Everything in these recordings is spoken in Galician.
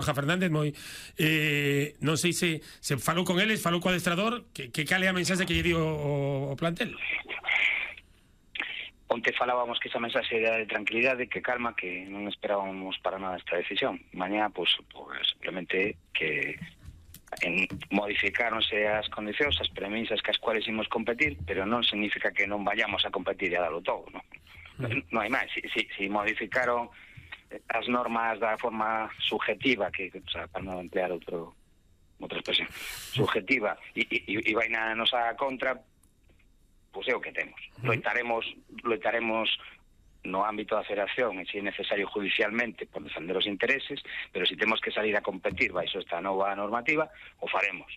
Borja Fernández non sei se falou con eles, falou co adestrador, que cal é a mensaxe que lle dio o plantel? Onte falábamos que esa mensaxe era de tranquilidade, que calma, que non esperábamos para nada esta decisión. Mañá, pues simplemente que modificáronse as condicións, as premisas que as cuales imos competir, pero non significa que non vayamos a competir e a darlo todo, non? Non hai máis. Si modificaron as normas da forma subjetiva, que, o sea, para non emplear outra expresión, subjetiva, e vai na nosa contra, pois é o que temos. Loitaremos no ámbito da federación, e se é necesario judicialmente, por defender os intereses, pero se temos que salir a competir baixo esta nova normativa, o faremos.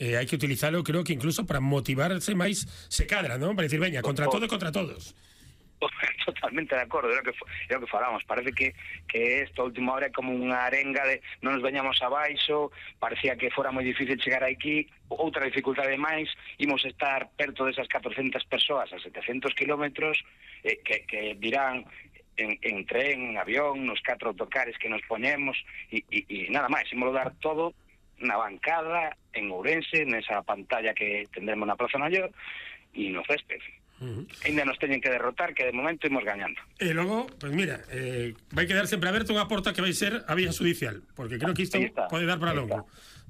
Hai que utilizalo, creo que incluso para motivarse máis, se cadra, non? Para dicir, veña, contra todo e contra todos. Totalmente de acordo, é o que falamos. Parece que esta última hora é como unha arenga de non nos veñamos abaixo, parecía que fora moi difícil chegar aquí, outra dificultade máis, imos estar perto desas 400 persoas a 700 kilómetros, que dirán en tren, en avión, nos 4 autocares que nos poñemos, e nada máis, imos dar todo na bancada, en Ourense, nesa pantalla que tendremos na Praza Maior, e no césped. Ainda nos teñen que derrotar, que de momento imos gañando. E logo, pues mira, vai quedar sempre aberta unha porta que vai ser a vía judicial, porque creo que isto pode dar para longo.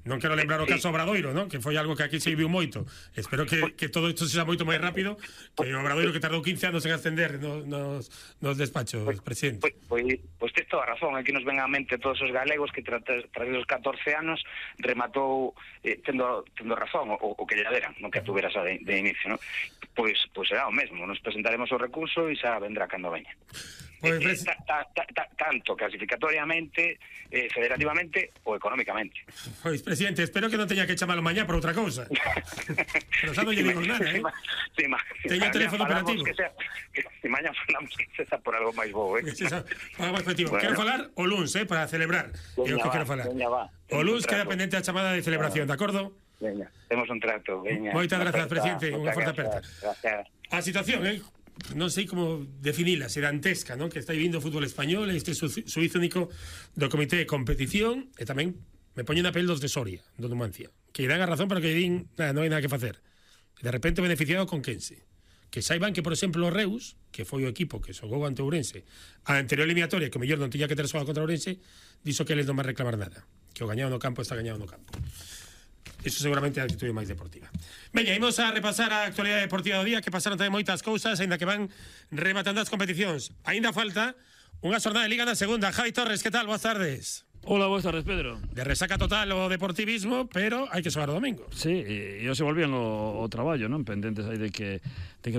Non quero lembrar o caso Obradoiro, non? Que foi algo que aquí se viu moito. Espero que todo isto sexa moito máis rápido, que o Obradoiro que tardou 15 anos en ascender nos despachos, presidente. Pois tes toda a razón. Aquí nos ven á mente todos os galegos que tras os 14 anos rematou tendo razón, o que lle deran, non que tuveras de inicio, non? Pois será o mesmo. Nos presentaremos o recurso e xa vendrá cando veña. Tanto clasificatoriamente, federativamente ou económicamente. Pois, presidente, espero que non teña que chamalo mañá por outra cousa. Pero xa non lle digo nada, teña teléfono operativo. Que mañá falamos que sea por algo máis bo, algo máis efectivo. Quero falar o luns, para celebrar. É o que quero falar. O luns queda pendente a chamada de celebración, de acordo? Veña, temos un trato, veña. Moitas grazas, presidente, unha forte aperta. A situación, non sei como definila, se dantesca, non? Que está vivindo o fútbol español, este suizo único do comité de competición, e tamén me poñen a pel dos de Soria, do Numancia, que dan a razón para que din, non hai nada que facer. E de repente beneficiado con Quense. Que saiban que, por exemplo, o Reus, que foi o equipo que xogou ante Ourense, a anterior eliminatoria, que o mellor non tiña que ter xogado contra Ourense, dixo que eles non van reclamar nada. Que o gañado no campo está gañado no campo. Iso seguramente é a actitude máis deportiva. Veña, imos a repasar a actualidade deportiva do día, que pasaron tamén moitas cousas, aínda que van rematando as competicións. Aínda falta unha xornada de Liga na segunda. Javi Torres, que tal? Boas tardes. Hola, boas tardes, Pedro. De resaca total o deportivismo, pero hai que xogar o domingo. Sí, e se volvían o traballo, non? Pendentes aí de que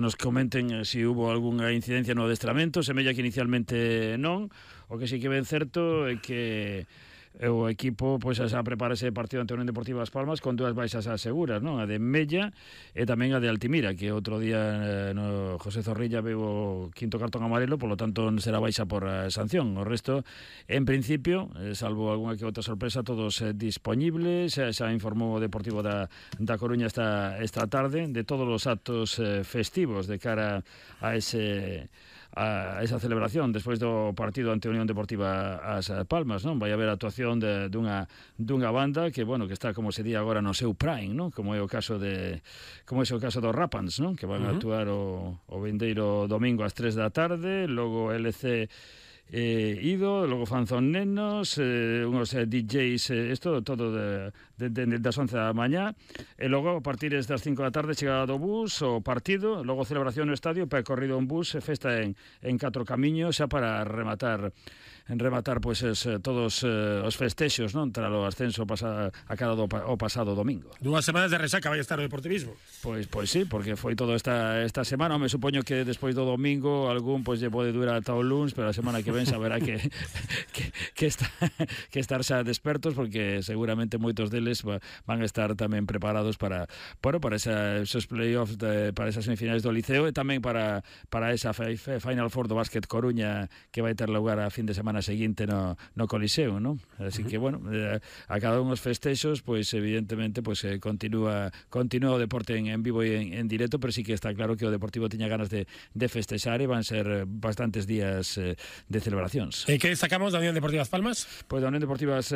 nos comenten se hubo algunha incidencia no adestramento. Semella que inicialmente non. O que sí que ven certo é que o equipo pois xa prepara ese partido ante a Unión Deportiva As Palmas con dúas baixas aseguras, non? A de Mella e tamén a de Altimira, que outro día José Zorrilla veu o quinto cartón amarelo, polo tanto será baixa por sanción. O resto, en principio, salvo algunha que outra sorpresa, todos dispoñibles. Xa informou o Deportivo da Coruña esta tarde de todos os actos festivos de cara a esa celebración despois do partido ante a Unión Deportiva As Palmas, non? Vai haber actuación dunha banda que, bueno, que está, como se di agora, no seu prime, non? Como é o caso dos Rapans, non? Que van a actuar o vindeiro domingo ás 3 da tarde, logo LC Ido, logo Fanzón Nenos, unhos DJs, isto todo das 11 da mañá, e logo a partir das 5 da tarde chegada do bus, o partido, logo celebración no estadio, percorrido en bus, festa en 4 camiños, xa para rematar pois todos os festexos, non? Tras o ascenso acabado o pasado domingo. 2 semanas de resaca vai estar o deportivismo. Pois sí, porque foi todo esta semana. Me supoño que despois do domingo algún pois lle pode durar ata o luns, pero a semana que ven saberá que estar xa despertos, porque seguramente moitos deles van a estar tamén preparados para esos playoffs, para esas semifinais do Liceo, e tamén para esa Final Four do Básquet Coruña, que vai ter lugar a fin de semana seguinte no Coliseo, non? Así que, bueno, a cada uns festexos, pois evidentemente continúa o deporte en vivo e en directo, pero sí que está claro que o Deportivo tiña ganas de festexar, e van ser bastantes días de celebracións. E que destacamos da Unión Deportiva As Palmas? Pois da Unión Deportiva